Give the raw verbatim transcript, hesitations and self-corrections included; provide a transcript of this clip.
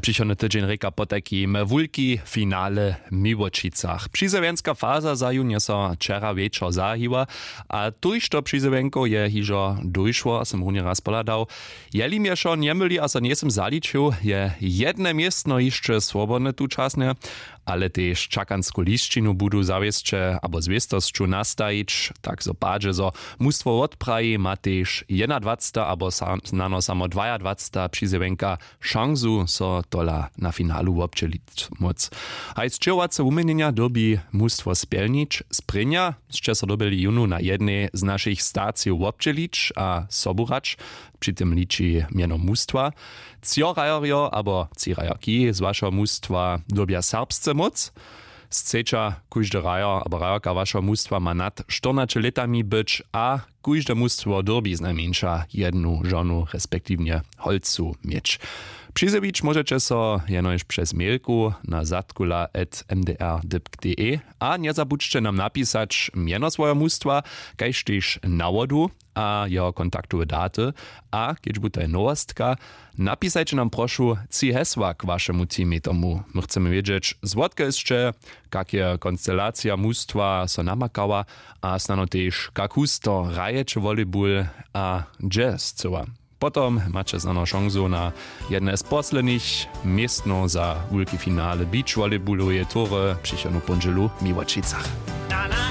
Přichodny tydźeń rěka potajkim wulki finale w Miłočicach. Přizewjenska faza za jun je so wčera wječor zahiła, a tójšto přizewjenkow je hižo dóšło, a sym runje raz pohladał. Jeli mje wšo njemyli a so njejsym zaličił, je jedne městno hišće swobodne tučasnje, ale tež čakansku lisćinu budu zawěsće abo zwěstosću nastajić, tak zo padźe zo mustwo wotpraji, ma tež jednadwacta abo sa- snano samo dwajadwacta přizewjenka šansu so tola na finalu wobdźělić móc. Haj sćěhowace wuměnjenja dyrbi mustwo spjelnić. Sprěnja sće so dyrbjeli jónu na jednej z našich stacijow wobdźělić a sobu hrać. Při tym liči mjeno mustwa. Třo hrajerjo abo tři hrajerki z wašeho mustwa dyrbja serbsce móc. Sceća kóždy hrajer abo hrajerka wašeho mustwa ma nad štyrnaće lětami być a kóžde mustwo dyrbi znajmjeńša jednu žonu respektiwnje holcu měć. Přizjewić móžeće so jenož přez mailku na zadkula at m d r dypk d e. A njezabudźće nam napisać mjeno swojeho mustwa, kaž tež nawodu a jeho kontaktowe daty. A kedźbu to je nowostka, napisajće nam prošu tři hesła k wašemu teamej tomu. My chcemy wědźeć, zwotkelž sće, kak je konstelacija mustwa so namakała, a snano tež kak husto hrajeće volejbul a hdźe scyła. Potom maće snano šansu na jedne z poslednich městnow za wulki finale beach volejbuloweje tury přichodnu póndźelu w Miłočicach.